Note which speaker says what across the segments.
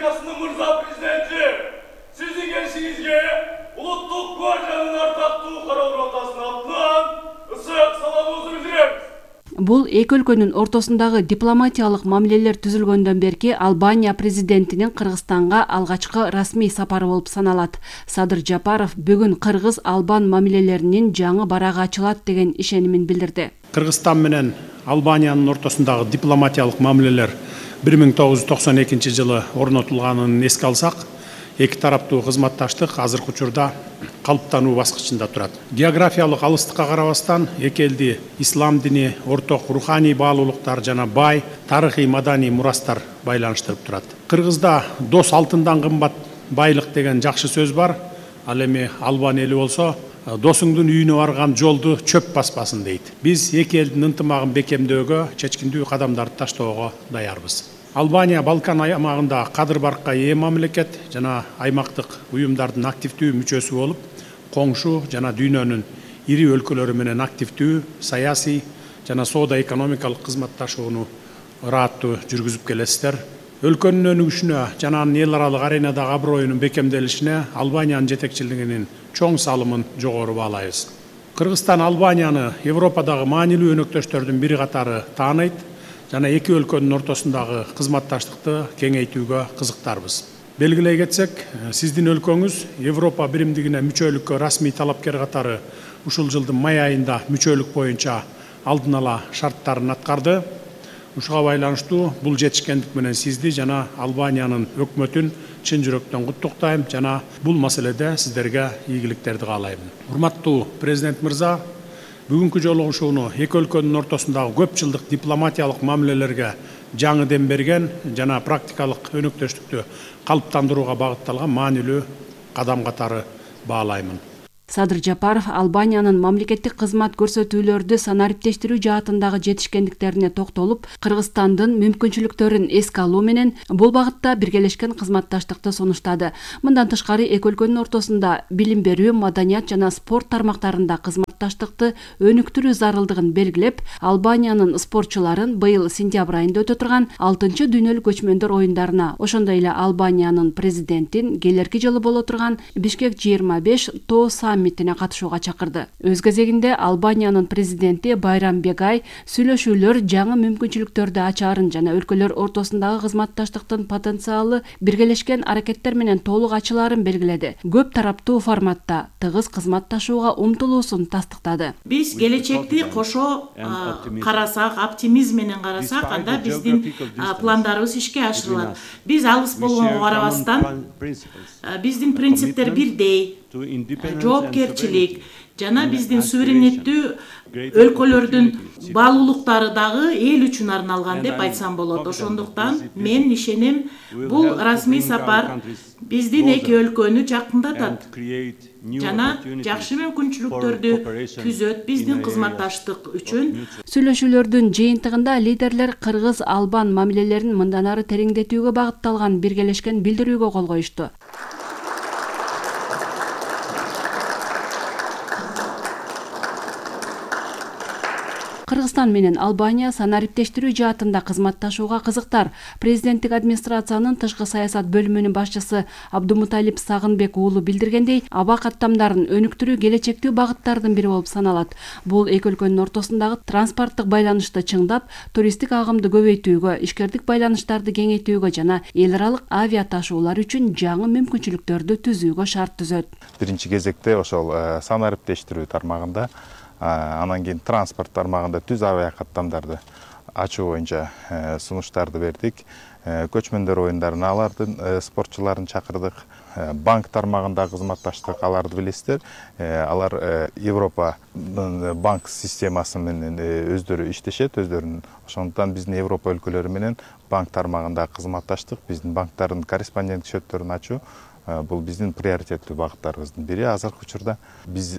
Speaker 1: Республикасынын мырза президенти, сиздин келишиңизге улуттук гвардиянын ардактуу кароо ротасынын атынан ысык саламыбызды билдиребиз.
Speaker 2: Бул эки өлкөнүн ортосундагы дипломатиялык мамилелер түзүлгөндөн берки Албания президентинин Кыргызстанга алгачкы расмий сапары болуп саналат. Садыр Жапаров бүгүн кыргыз-албан мамилелеринин жаңы барагы ачылат деген ишенимин билдирди.
Speaker 3: Кыргызстан менен Албаниянын ортосундагы дипломатиялык мамилелер 1992 жылы орнотулганын эске алсак, эки тараптуу кызматташтык азыркы учурда калыптануу баскычында турат. Географиялык алыстыкка карабастан эки элди ислам дини, орток руханий баалуулуктар жана бай тарыхый маданий мурастар байланыштырып турат. Кыргызда дос алтындан кымбат байлык деген жакшы сөз бар. Ал эми албан эли болсо досуңдун үйүнө барган жолду чөп баспасын дейт. Биз эки элдин ынтымагын бекемдөөгө, чечкиндүү кадамдарды таштоого даярбыз. Албания Балкан аймагында кадыр баркка ээ мамлекет жана аймактык уюмдардын активдүү мүчөсү болуп, коңшу жана дүйнөнүн ири өлкөлөрү менен активдүү саясий жана соода-экономикалык кызматташууну ырааттуу жүргүзүп келесиздер. Өлкөнүн өнүгүшүнө жана анын эл аралык аренадагы аброюнун бекемделишине Албаниянын жетекчилигинин чоң салымын жогору баалайбыз. Кыргызстан Албанияны Европадагы маанилүү өнөктөштөрдүн бири катары тааныйт жана эки өлкөнүн ортосундагы кызматташтыкты кеңейтүүгө кызыктарбыз. Белгилей кетсек, сиздин өлкөңүз Европа биримдигине мүчөлүккө расмий талапкер катары ушул жылдын май айында мүчөлүк боюнча алдын ала шарттарын аткарды. Ушуга байланыштуу бул жетишкендик менен сизди жана Албаниянын өкмөтүн чын жүрөктөн куттуктайм жана бул маселеде сиздерге ийгиликтерди каалайм. Урматтуу президент мырза, бүгүнкү жолугушууну эки өлкөнүн ортосундагы көп жылдык дипломатиялык мамилелерге жаңы дем берген жана практикалык өнөктөштүктү калыптандырууга багытталган маанилүү кадам катары баалаймын.
Speaker 2: Садыр Жапаров Албаниянын мамлекеттик кызмат көрсөтүүлөрдү санариптештирүү жаатындагы жетишкендиктерине токтолуп, Кыргызстандын мүмкүнчүлүктөрүн эске алуу менен бул багытта биргелешкен кызматташтыкты сунуштады. Мындан тышкары эки өлкөнүн ортосунда билим берүү, маданият жана спорт тармактарында кызматташтыкты өнүктүрүү зарылдыгын белгилеп, Албаниянын спортчуларын быйыл сентябрь айында өтө турган 6-чы дүйнөлүк көчмөндөр оюндарына, ошондой эле Албаниянын президентин келерки жылы боло турган Бишкек 25 тоо саммитине катышууга чакырды. Өз кезегинде Албаниянын президенти Байрам Бегай сүйлөшүүлөр жаңы мүмкүнчүлүктөрдү ачаарын жана өлкөлөр ортосундагы кызматташтыктын потенциалы биргелешкен аракеттер менен толук ачылаарын белгиледи. Көп тараптуу форматта тыгыз кызматташууга умтулуусун тастыктады.
Speaker 4: Биз келечекти кошо карасак, оптимизм менен карасак, анда биздин пландарыбыз ишке ашырылат. Биз алыс болгонго карабастан биздин принциптер бирдей, жоопкерчилик жана биздин суверенеттүү өлкөлөрдүн баалуулуктары дагы эл үчүн арналган деп айтсам болот. Ошондуктан мен ишенем, бул расмий сапар биздин эки өлкөнү жакындатат жана жакшы мүмкүнчүлүктөрдү түзөт биздин кызматташтык үчүн.
Speaker 2: Сүйлөшүүлөрдүн жыйынтыгында лидерлер кыргыз-албан мамилелерин мындан ары тереңдетүүгө багытталган биргелешкен билдирүүгө кол коюшту. Кыргызстан менен Албания санариптештирүү жаатында кызматташууга кызыктар. Президенттик администрациянын тышкы саясат бөлүмүнүн башчысы Абдумуталип Сагынбек уулу билдиргендей, аба каттамдарын өнүктүрүү келечектүү багыттардын бири болуп саналат. Бул эки өлкөнүн ортосундагы транспорттук байланышты чыңдап, туристтик агымды көбөйтүүгө, ишкердик байланыштарды кеңейтүүгө жана эл аралык авиа ташуулар үчүн жаңы мүмкүнчүлүктөрдү түзүүгө шарт түзөт.
Speaker 5: Биринчи кезекте ошол санариптештирүү тармагында, анан кийин транспорт тармагында түз авиа каттамдарды ачуу боюнча сунуштарды бердик. Көчмөндөр оюндарына алардын спортчуларын чакырдык. Банк тармагында кызматташтык, аларды билесиздер. Алар Европа банк системасы менен өздөрү иштешет, өздөрүнүн. Ошондуктан биздин Европа өлкөлөрү менен банк тармагында кызматташтык, биздин банктардын корреспондент счеттөрүн ачуу бул биздин приоритеттүү багыттарыбыздын бири. Азыркы учурда биз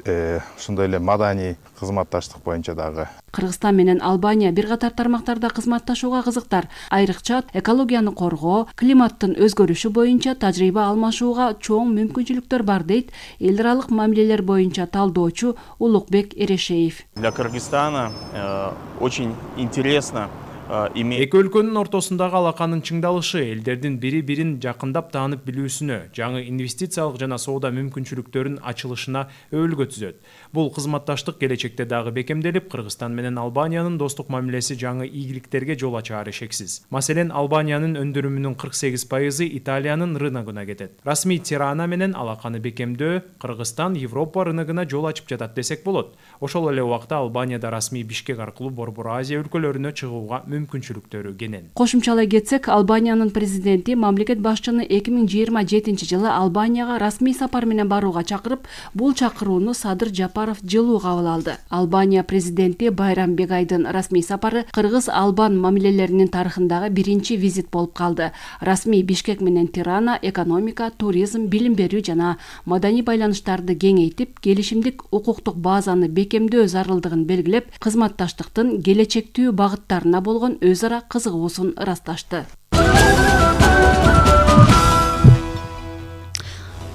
Speaker 5: ошондой эле маданий кызматташтык боюнча дагы.
Speaker 2: Кыргызстан менен Албания бир катар тармактарда кызматташууга кызыктар. Айрыкча экологияны коргоо, климаттын өзгөрүшү боюнча тажрыйба алмашууга чоң мүмкүнчүлүктөр бар дейт эл аралык мамилелер боюнча талдоочу Улукбек Эрешеев.
Speaker 6: Для Кыргызстана очень интересно Эки өлкөнүн ортосундагы алаканын чыңдалышы элдердин бири-бирин жакындап таанып билүүсүнө, жаңы инвестициялык жана соода мүмкүнчүлүктөрүнүн ачылышына өбөлгө түзөт. Бул кызматташтык келечекте дагы бекемделип, Кыргызстан менен Албаниянын достук мамилеси жаңы ийгиликтерге жол ачаары шексиз. Маселен, Албаниянын өндүрүмүнүн 48% Италиянын рыногуна кетет. Расмий Тирана менен алаканы бекемдөө Кыргызстан Европа рыногуна жол ачып жатат десек болот. Ошол эле убакта Албанияда расмий Бишкек аркылуу Борбор Азия өлкөлөрүнө чыгууга мүмкүнчүлүктөрү кенен.
Speaker 2: Кошумчалай кетсек, Албаниянын президенти мамлекет башчыны 2027-жылы Албанияга расмий сапар менен барууга чакырып, бул чакырууну Садыр Жапаров жылуу кабыл алды. Албания президенти Байрам Бегайдын расмий сапары кыргыз-албан мамилелеринин тарыхындагы биринчи визит болуп калды. Расмий Бишкек менен Тирана экономика, туризм, билим берүү жана маданий байланыштарды кеңейтип, келишимдик укуктук базаны бекемдөө зарылдыгын белгилеп, кызматташтыктын келечектүү багыттарына болгон өз ара кызыгуусун ырасташты.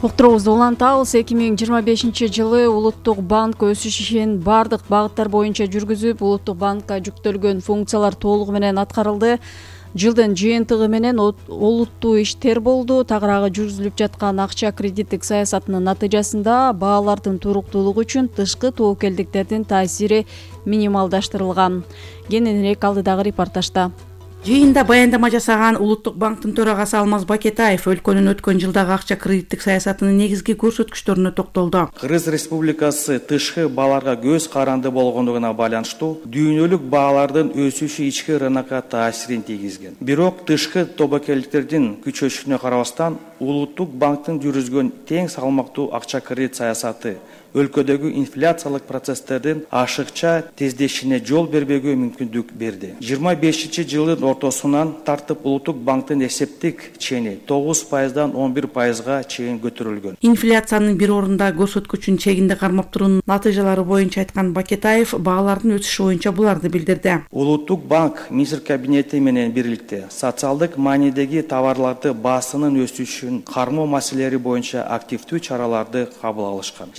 Speaker 2: Уктуруубузду улантабыз. 2025-жылы Улуттук банк өсүш ишин бардык багыттар боюнча жүргүзүп, Улуттук банкка жүктөлгөн функциялар толугу менен аткарылды. Жылдын жыйынтыгы менен олуттуу иштер болду. Тагыраагы жүргүзүлүп жаткан акча кредиттик саясатынын натыйжасында баалардын туруктуулугу үчүн тышкы тобокелдиктердин таасири минималдаштырылган. Кененирээк алдыдагы репортажда.
Speaker 4: Жыйында баяндама жасаган Улуттук банктын төрагасы Алмаз Бакетаев өлкөнүн өткөн жылдагы акча кредиттик саясатынын негизги көрсөткүчтөрүнө токтолду.
Speaker 7: Кыргыз Республикасы тышкы бааларга көз каранды болгондугуна байланыштуу дүйнөлүк баалардын өсүшү ички рынокко таасирин тийгизген. Бирок тышкы тобокелдиктердин күчөшүнө карабастан Улуттук банктын жүргүзгөн тең салмактуу акча кредит саясаты өлкөдөгү инфляциялык процесстердин ашыкча тездешине жол бербөөгө мүмкүндүк берди. 25-жылдын ортосунан тартып Улуттук банктын эсептик чени 9%дан 11%га чейин көтөрүлгөн.
Speaker 4: Инфляциянын бир орунда көрсөткүчүн чегинде кармап туруунун натыйжалары боюнча айткан Бакетаев баалардын өсүшү боюнча буларды билдирди.
Speaker 7: Улуттук банк министр кабинети менен бирликте социалдык маанидеги товарларды баасынын өсүшүн кармоо маселелери боюнча активдүү чараларды кабыл алышкан.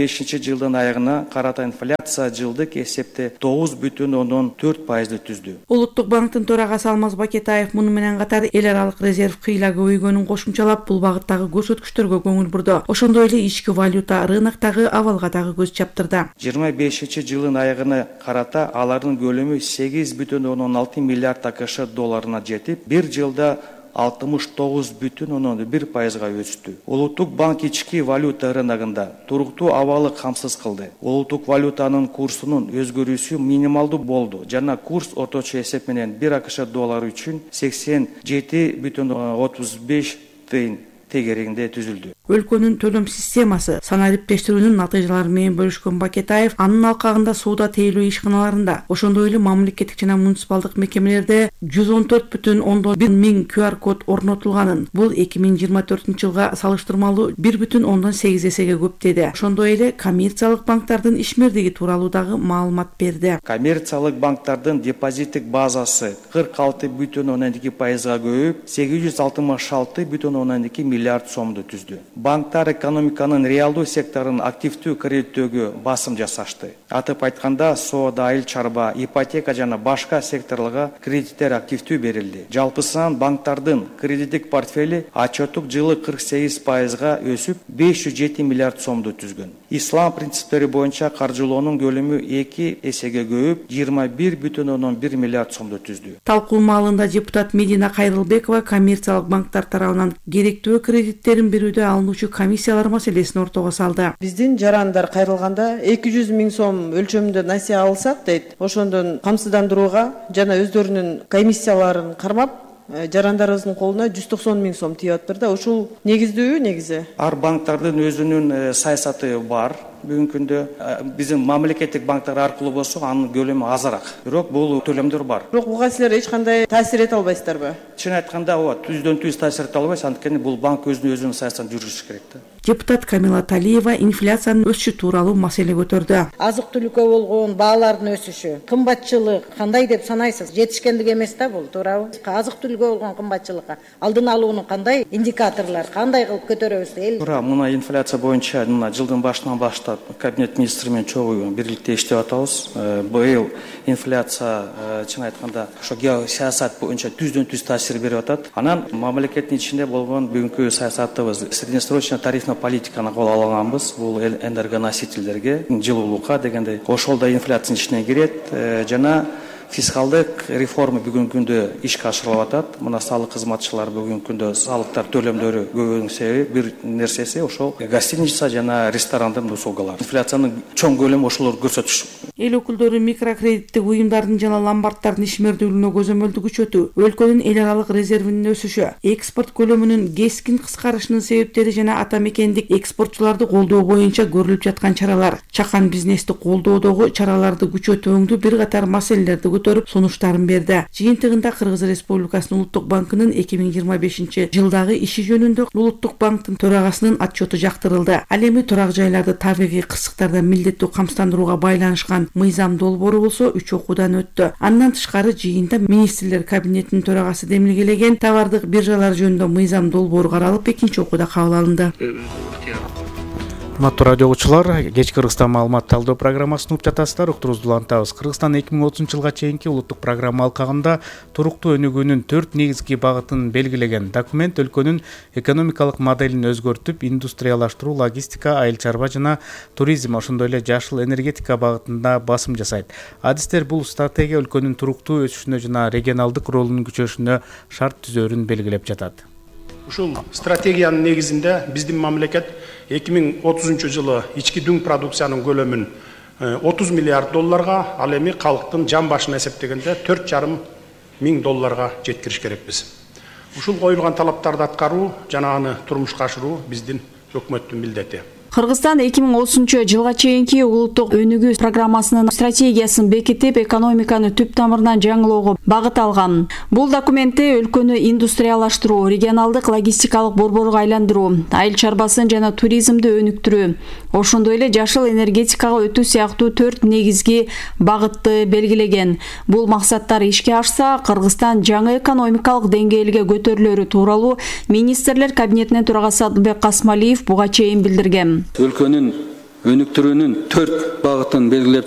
Speaker 7: 25-жылдын аягына карата инфляция жылдык эсепте 9,4% түздү.
Speaker 4: Улуттук банктын төрагасы Алмаз Бакетаев муну менен катар эл аралык резерв кыйла көбөйгөнүн кошумчалап, бул багыттагы көрсөткүчтөргө көңүл бурду. Ошондой эле ички валюта рыноктогу абалга дагы көз чаптырды.
Speaker 7: 25-жылдын аягына карата алардын көлөмү 8,6 миллиард АКШ долларына жетип, бир жылда 69,1%га өстү. Улуттук банк ички валюта рыногунда туруктуу абалы камсыз кылды. Улуттук валютанын курсунун өзгөрүүсү минималдуу болду жана курс орточо эсеп менен 1 АКШ доллары үчүн 87,35 тыйын тегерегинде түзүлдү.
Speaker 4: Өлкөнүн төлөм системасы санариптештирүүнүн натыйжалары менен бөлүшкөн Бакетаев анын алкагында соода тейлөө ишканаларында, ошондой эле мамлекеттик жана муниципалдык мекемелерде 114,1 миң QR код орнотулганын, бул 2024-жылга салыштырмалуу 1,8 эсеге көп деди. Ошондой эле коммерциялык банктардын ишмердиги тууралуу дагы маалымат берди.
Speaker 7: Коммерциялык банктардын депозиттик базасы 46,2%га көбөйүп, 866,2 миллиард сомду түздү. Банктар экономиканын реалдуу секторун активдүү кредиттөөгө басым жасашты. Атып айтканда, соода, айыл чарба, ипотека жана башка секторлорго кредиттер активдүү берилди. Жалпысынан банктардын кредиттик портфели отчеттук жылы 48%га өсүп, 507 миллиард сомду түзгөн. Ислам принциптери боюнча каржылоонун көлөмү 2 эсеге көбөйүп, 21,1 миллиард сомду түздү.
Speaker 4: Талкуу маалында депутат Медина Кайрылбекова коммерциялык банктар тарабынан керектүү кредиттерин берүүдө алынуучу комиссиялар маселесин ортого салды.
Speaker 8: Биздин жарандар кайрылганда 200 миң сом өлчөмүндө насие алсак дейт, ошондон камсыздандырууга жана өздөрүнүн комиссияларын кармап, жарандарыбыздын колуна 190 миң сом тийип атыптыр да. Ушул негиздүүбү негизи?
Speaker 7: Ар банктардын өзүнүн саясаты бар. Бүгүнкү күндө биздин мамлекеттик банктар аркылуу болсо анын көлөмү азыраак. Бирок бул төлөмдөр бар.
Speaker 8: Бирок буга силер эч кандай таасир эте албайсыздарбы?
Speaker 7: Чын айтканда, ооба, түздөн-түз таасир эте албайсыз, анткени бул банк өзүнүн саясатын жүргүзүш керек да.
Speaker 9: Депутат Камила Талиева инфляциянын өсүшү тууралуу маселе көтөрдү.
Speaker 10: Азык түлүккө болгон баалардын өсүшү, кымбатчылык кандай деп санайсыз? Жетишкендик эмес да бул, туурабы? Азык түлүккө болгон кымбатчылыкка алдын алуунун кандай индикаторлор, кандай кылып көтөрөбүз эл?
Speaker 7: Туура, мына инфляция боюнча мына жылдын башынан баштап кабинет министри менен чогуу бирликте иштеп атабыз. Быйыл инфляция чын айтканда ошо геосаясат боюнча түздөн-түз таасир берип атат. Анан мамлекеттин ичинде болгон бүгүнкү саясатыбыз среднесрочный тарифный политиканы кол алганбыз. Бул энергоносительдерге, жылуулукка дегенде ошол да инфляциянын ичине кирет. Жана фискалдык реформа бүгүнкү күндө ишке ашырылып атат. Мына салык кызматчылар бүгүнкү күндө салыктар төлөмдөрү көбөйгөнүн себеби бир нерсеси ошол гостиница жана ресторандын услугалары. Инфляциянын чоң көлөмү ошолор көрсөтүш.
Speaker 9: Эл өкүлдөрү микрокредиттик уюмдардын жана ломбарддардын ишмердүүлүгүнө көзөмөлдү күчөтүү, өлкөнүн эл аралык резервинин өсүшү, экспорт көлөмүнүн кескин кыскарышынын себептери жана ата мекендик экспортчуларды колдоо боюнча көрүлүп жаткан чаралар, чакан бизнести колдоодогу чараларды күчөтүүңдү бир катар маселелерди көтөрүп сунуштарын берди. Жыйынтыгында Кыргыз Республикасынын Улуттук банкынын 2025 жылдагы иши жөнүндө Улуттук банктын төрагасынын отчету жактырылды. Ал эми турак жайларды табигый кырсыктардан милдеттүү камсыздандырууга байланышкан мыйзам долбоору болсо 3 окуудан өттү. Андан тышкары жыйында министрлер кабинетинин төрагасы демилгелеген товардык биржалар жөнүндө мыйзам долбоору каралып, экинчи окууда кабыл алынды.
Speaker 6: Урматтуу радио угуучулар, кечки Кыргызстан маалымат талдоо программасын угуп жатасыздар. Уктуруубузду улантабыз. Кыргызстан 2030 жылга чейинки улуттук программа алкагында туруктуу өнүгүүнүн 4 негизги багытын белгилеген документ өлкөнүн экономикалык моделин өзгөртүп, индустриялаштыруу, логистика, айыл чарба жана туризм, ошондой эле жашыл энергетика багытында басым жасайт. Адистер бул стратегия өлкөнүн туруктуу өсүшүнө жана регионалдык ролунун күчөшүнө шарт түзөрүн белгилеп жатат.
Speaker 3: Ушул стратегиянын негизинде биздин мамлекет 2030 жылы ички дүң продукциянын көлөмүн 30 миллиард долларга, ал эми калктын жан башына эсептегенде 4,5 миң долларга жеткириш керекпиз. Ушул коюлган талаптарды аткаруу жана аны турмушка ашыруу биздин өкмөттүн милдети.
Speaker 2: Кыргызстан 2030 жылга чейинки улуттук өнүгүү программасынын стратегиясын бекитип, экономиканы түп тамырынан жаңылоого багыт алган. Бул документте өлкөнү индустриялаштыруу, регионалдык логистикалык борборго айландыруу, айыл чарбасын жана туризмди өнүктүрүү, ошондой эле жашыл энергетикага өтүү сыяктуу 4 негизги багытты белгилеген. Бул максаттар ишке ашса, Кыргызстан жаңы экономикалык деңгээлге көтөрүлөрү тууралуу министрлер кабинетинин төрагасы Адылбек Касмалиев буга чейин билдирген.
Speaker 11: Өлкөнүн өнүктүрүүнүн 4 багытын белгилеп